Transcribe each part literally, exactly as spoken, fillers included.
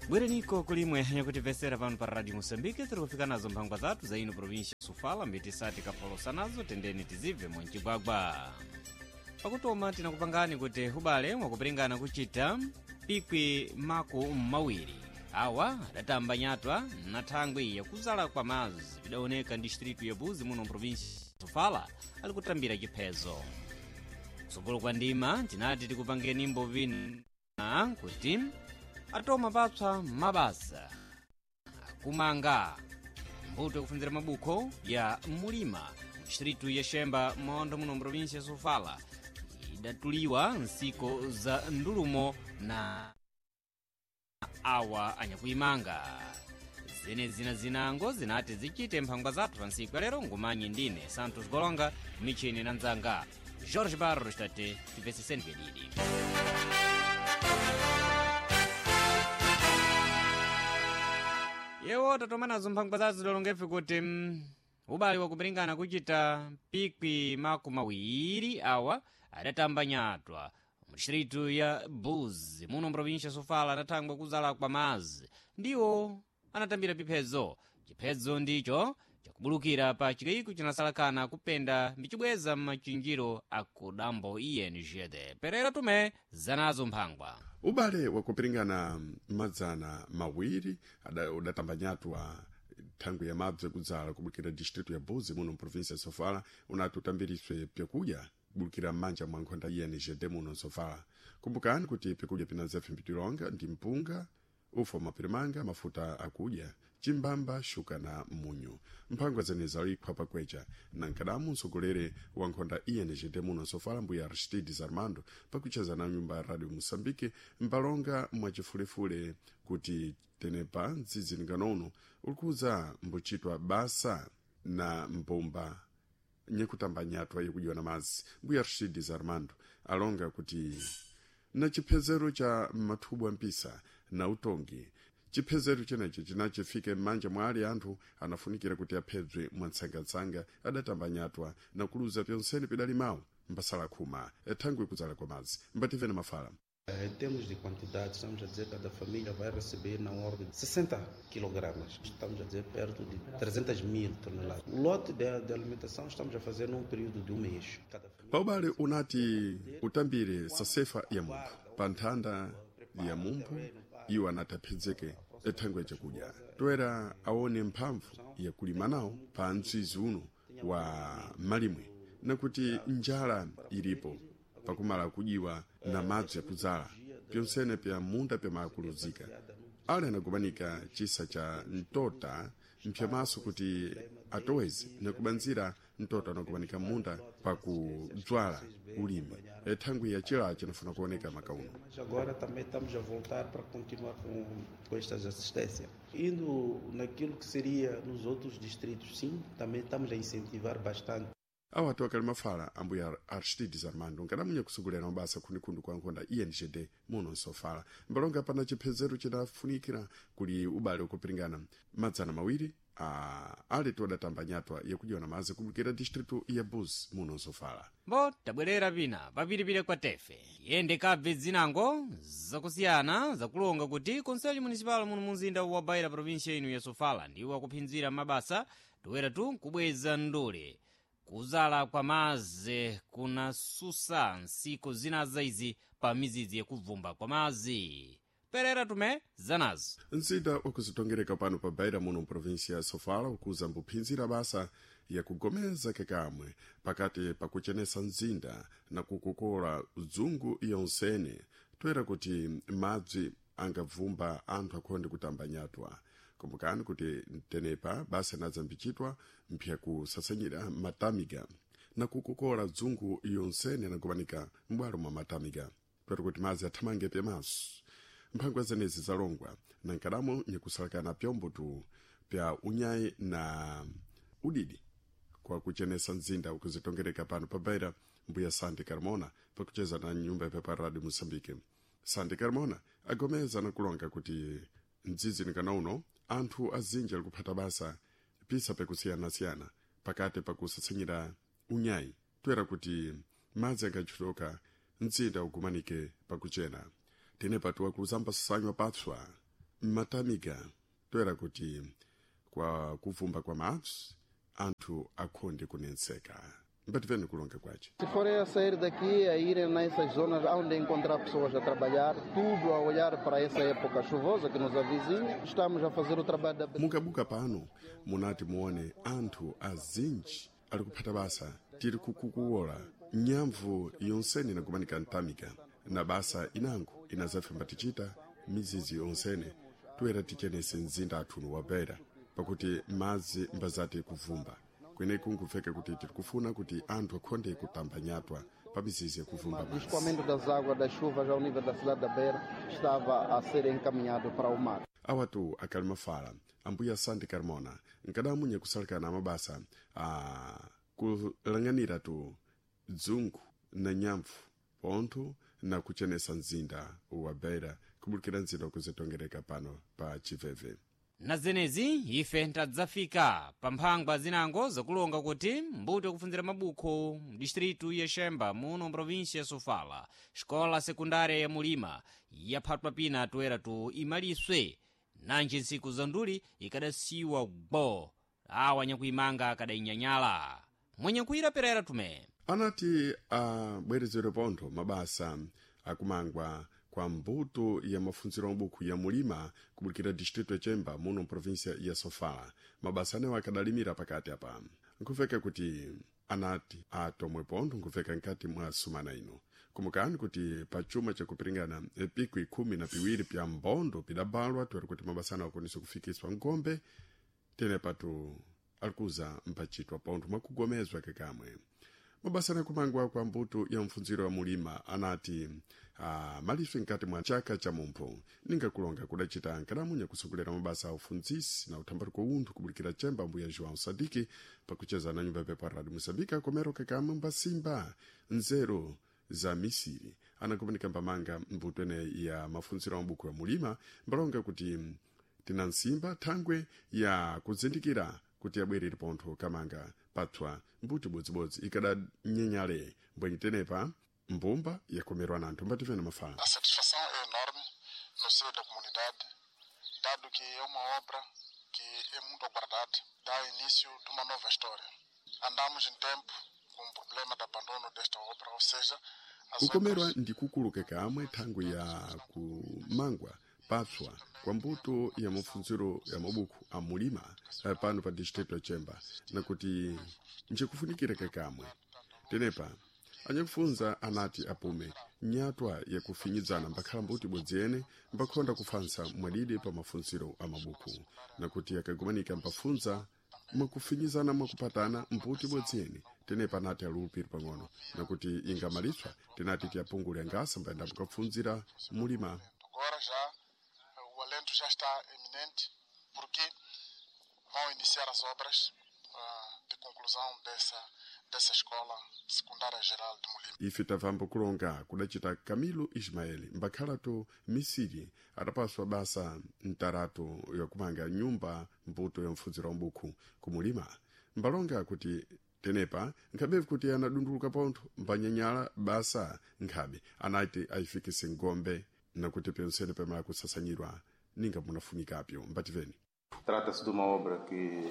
Bwereniko kulimwe nyakutivesera pano pa Radio Moçambique, tiri kufika nazo mphangwa zathu za ino província Sofala, mbitisati kapolosa nazo tendeni tizibve mwancigwagwa. Pakutoma tinakupangani kuti ubale mwakupiringana kuchita pikwi maku mawiri awa adatamba nyatwa na thangwi yakuzala kwa mazi vidaoneka distritu ya Buzi muno mprovinsi Sofala ali kutambira chiphezo. Kutsogolo kwa ndima tinati tikupangeni mbovina kuti atoma papsa mabasa akumanga mbuto yakufunzira mabukho ya mulima mdistritu ya Xemba mondo muno mprovinsi ya Sofala idatuliwa nsiko za ndulumo na awa anyakuimanga. Zene zina zinango zinati zichite mphangwa zathu pa ntsiku ya lero. Ngumanyi ndine Santos Golonga, michini na nzanga Jorge Barros, tate tipeseseni pedidi. Yewo tatoma nazo mphangwa zathu zidalongefe kuti mm, ubale wakupiringana kuchita pikwi maku mawiri awa adatamba nyatwa mudistritu ya Buzi muno mprovinsia Sofala adathangwa kuzala kwa mazi ndiwo anatambira piphedzo. Chiphedzo ndicho chakubulukira pa chikayiko chinasalakana kupenda mbicibweza m'machinjiro akudambo I N G D. Perera tume zanazo mphangwa. Ubale wakupiringana madzana mawiri ada- udatambanyatwa thangwi ya mabze kudzala kubulukira distritu ya Buzi muno mprovinsia ya Sofala unati utambiriswe pyakudya kubulukira m'manja mwa nkhonda I N G D muno Sofala. Kumbukani kuti pyakudya pinazepfe mbitilonga ndi mpunga, ufa mapirimanga, mafuta akudya, chimbamba, shuka na munyu. Mphangwa zenezi alikhwa pakwecha na nkadamu msogolere wa nkhonda I N G D muno Sofala, mbuya Aristides Armando, pakucheza na nyumba ya Radio Moçambique mpalonga mwachifulefule kuti tenepa mdzidzi uno ulikuza mbuchitwa basa na mbumba nyekutamba nyatwa yekudywa na madzi. Mbuya Aristides Armando alonga kuti na chiphezero cha mathubu ampisa na utongi, chiphezero chenechi chinachifike m'manja mwa ali anthu anafunikira kuti aphedzwe mwatsangatsanga adatamba nyatwa na kuluza pyonsene pidali mawu mbasala khuma thangwi kudzala kwa madzi. Mbative na mafala. Em termos de quantidade, estamos a dizer que cada família vai receber na ordem de sessenta quilogramas. Estamos a dizer perto de trezentas mil toneladas. O lote de, de alimentação estamos a fazer num período de um mês. Cada família Paubale unati utambire sasefa ya munthu pa nthanda ya munthu iwo anati aphedzeke thangwi chakudya toera aone mphamvu yakulima nawo pa mtsizi uno wa malimwe, nakuti njala ilipo pakumala kudyiwa na madzi yakudzala pyonsene pya munda pyamakuluzika. Ale anagumanika chisa cha mtota mpyamaso kuti atoweze nakubanzira mtota anagumanika munda pakudzwala ulimi thangwi ya chila chinafuna kuoneka makauno. Mas agora também estamos a voltar para continuar com, com estas assistências. Indo naquilo que seria nos outros distritos, sim, também estamos a incentivar bastante. Awo atu akali mafala ambuya Aristides Armando, nkadamunya kusogolera mabasa khundikhundu kwa nkhonda I N G D muno Nsofala, mbalonga pana chiphezero chinafunikira kuli ubale ukupiringana madzana mawiri a aletu adatamba nyatwa yakudyiwa na madzi kubulukira distritu ya Buzi muno Nsofala. Mbo tabwerera pina papiripire kwa tefe yende kabve zinango zakusiyana zakulonga kuti konselho municipal muno munzinda wa Beira, província ino ya Sofala, ndiwo akuphinzira mabasa toera tu nkubweza ndule kuzala kwa mazi kunasusa nsiko zina zaizi pa mizidzi yakubvumba kwa mazi. Perera tume zanazo. Mzinda wakuzitongereka pano pa Beira muno mprovinsia ya Sofala ukuza mbuphinzira basa yakugomeza kekamwe pakati pakuchenesa mzinda na kukokola dzungu yonsene toera kuti madzi angabvumba anthu akhonde kutamba nyatwa. Kumbukani kuti tenepa basa inadzambichitwa mpya kusasanyira matamiga na kukokola dzungu yonsene anagumanika m'bwalo mwa matamiga toera kuti madzi athamange pyamaso. Mphangwa zenezi zalongwa na nkadamo nyikusalakana pyombo tu pya unyayi na udidi kwa kuchenesa mzinda ukuzitongereka pano pa Beira, mbuya Santi Carmona, pakucheza na nyumba yapepa Radio Moçambique. Santi Carmona agomeza na kulonga kuti mdzidzi nikana uno anthu azinji ali kuphata basa pisa pekusiyana-siyana pakati pakusasanyira unyayi toera kuti madzi angachuluka mzinda ugumanike pakuchena. Tine patuwa kuluzamba sanywa patswa. Mmatamiga toera kuti kwa kuvumba kwa madzi anthu akhonde kunenseka. Mbativeni kulonga kwace. Se forem a sair daqui, a irem nessas zonas onde encontrar pessoas a trabalhar, tudo a olhar para essa época chuvosa que nos avizinha, estamos a fazer o trabalho da Mukabuka pano munati muone anthu azinji ali kuphata basa. Tiri kukukuwola nyamvu yonsene inakumanika mtamika na basa inango inazafemba tichita mizizi yonsene toera tichenese mzinda athuno wa Beira pakuti madzi mbazati kuvumba kweneku nkupfeka kuti tiri kufuna kuti anthu akhonde kutamba nyatwa pa mizizi yakuvumba O madzi. escoamento das águas das chuvas ao nível da cidade da Beira estava a ser encaminhado para o mar. Awatu akali mafala ambuya Santi Carmona nkadamunya kusalekana mabasa a kulang'anira tu dzungu na nyamvu pontho na kuchenesa mzinda wa Beira kubulikira mzinda wakuzitongereka pano pa Chiveve. Na zenezi ife tadzafika pa mphangwa zinango zakulonga kuti mbuto yakufunzira mabukho mdistritu ya Xemba muno mprovinsia ya Sofala, xikola sekundária ya Mulima yaphatwa pina toera tu imaliswe nanji ntsiku za nduli ikadasiwa gbo awa nyakuimanga akadainyanyala mwenyakuira perera tume. Anati abwerezedwe pontho mabasa akumangwa kwa mbuto ya mafunziro mabukhu ya Mulima kubulikira distrito ya Chemba muno mprovinsia ya Sofala. Mabasa anewo akadalimira pakati apa. Nkufeka kuti anati atomwe pontho nkufeka nkati mwa sumana ino. Kumukani kuti pa chuma chakupiringana piku ikhumi na piwiri pya mbondo pidabalwa toera kuti mabasa anewo akwanise kufikiswa ngombe tene patu alikuza mpachitwa pontho mwakugomezwa kekamwe. Mabasa anakumangwa kwa mbuto ya mfunziro wa Mulima anati ah, maliswe nkati mwa chaka cha mumpho ningakulonga kudacita nkadamunya kusogolera mabasa a ufunzisi na uthambaliko unthu kubulikira Chemba mbuya João Sadiki pakucheza na nyumba yapepo Radio Moçambique komero kekamwe mbasimba nzeru za misiri anakumanika mbamanga mbuto ene ya mafunziro a mabuku ya Mulima mbalonga kuti tina nsimba thangwe ya kuzindikira kuti abwerere pontho kamanga patswa mbuti bodzibodzi ikadanyenyale mbwenyi tenepa mbumba yakomerwa na anthu mbativena mafala. A satisfação é enorme no seio da comunidade, dado que é uma obra que é muito aguardada, dá início de uma nova história. Andamos em tempo com o problema de abandono desta obra, ou seja, as Kukomerwa obras ndi kukuluka kamwe thangwe ya kumangwa patswa kwa mbuto ya mafunziro ya mabuku a Mulima eh, pano pa distrito ya Chemba nakuti njikufunikira kakamwe tenepa anyakufunza anati apume nyatwa yakufinyidzana mbakhala mbuti ibodzi ene mbakhonda kufansa mwadidi pa mafunziro a mabuku nakuti akagumanika mbafunza mwakufinyizana mwakupatana mbuti ibodzi ene tenepa anati alulupiri pang'ono nakuti ingamaliswa tinati tiyapungule angasa mbayenda mukapfunzira Mulima. Agora já eh, o alento já está iminente, porque vão iniciar as obras ah, de conclusão dessa, dessa escola secundária geral de Mulima. Ife tavambo kulonga kudacita Camilo Ismael mbakhalatu misiri adapaswa basa mtaratu yakumanga nyumba mbuto ya mfunziro wa mbuku kumulima mbalonga kuti tenepa nkhabevu kuti anadunduluka pontho mbanyanyala basa nkhabe anati ayifikise ngombe nakuti pyonsene pamala kusasanyirwa ninga munafunikapyo mbativeni. Trata-se de uma obra que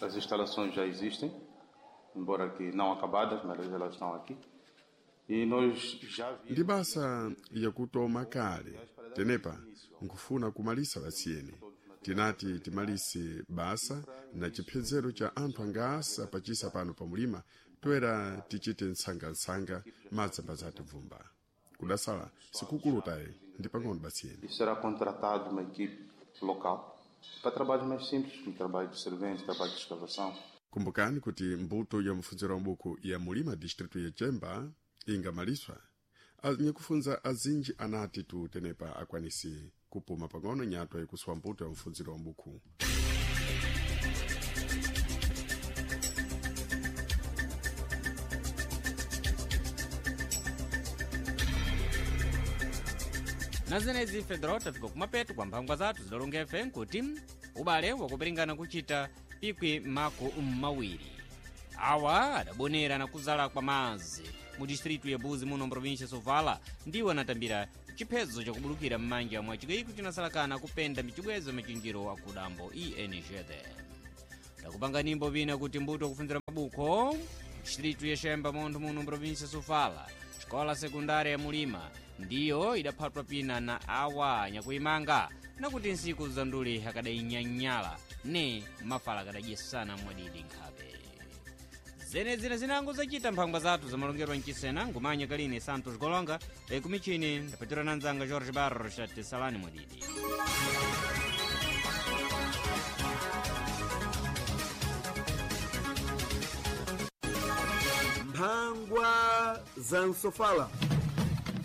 as instalações já existem, embora que não acabadas, mas elas estão aqui. E nós já Ndi vimos basa yakutoma kale tenepa nkufuna kumalisa basiyeni tinati timalise basa na chiphezero cha anthu angasa pachisa pano pa Mulima toera tichite nsangansanga madzamba zatibvumba kudasala sikukulutayi ndi pang'ono basiyeni. e será contratado uma equipe local para trabalhos mais simples, como trabalho de serventes, trabalho de escavação. Kumbukani kuti mbuto ya mfunziro wa mabuku ya Mulima distritu ya Chemba ingamaliswa anyakufunza azinji anati tu tenepa akwanisi kupuma pang'ono nyatwa yakuswa mbuto ya mfunziro wa mabuku. Na zenezi Fedro tafika kumapeto kwa mphangwa zathu zidalonga ife nkuti ubale wakupiringana kuchita pikwi mako mmawiri awa adabonera na kuzala kwa mazi mu distritu ya Buzi muno mprovinsia Sofala ndiwo anatambira Chiphezo chakubulukira m'manja mwa chikayiko chinasalakana kupenda michibwezo machinjiro akudambo E N G D. Takupanga nimbo vina kuti mbuto kufunzira mabuko distritu ya Xemba montho muno mprovinsia Sofala, xikola sekundária ya Mulima ndiyo idaphatwa pina na awa nyakuimanga, nakuti nsiku za nduli akadainyanyala ne mafala akadadyesana mwadidi nkhabe. Zenezina zinango zacita mphangwa zathu zamalongerwa mchisena ngumanya kalini Santos Golonga ekumichini ndapatira na nzanga Jorge Barros ati salani mwadidi. Mphangwa za Nsofala.